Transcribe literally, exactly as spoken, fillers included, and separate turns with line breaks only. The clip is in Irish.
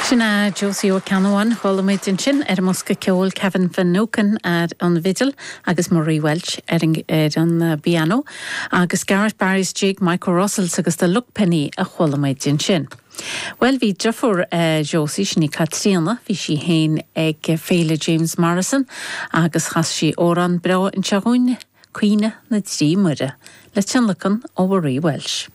Sin é Josie Ó Ceannabháin chuala muid ansin ar an mbosca ceoil Kevin Finucane ar an bhfidil agus Marie Walsh ar an, ar an uh, piano, agus Garrett Barry's Jig Michael Russells agus the Luckpenny a chuala muid ansin. Well bhí deirfiúr uh, Josie sin í Caitríona, bhí sí féin ag Féile James Morrison agus chas sí amhrán breá anseo dúinn Caoineadh na dTrí Muire le tionlacan ó Marie Walsh.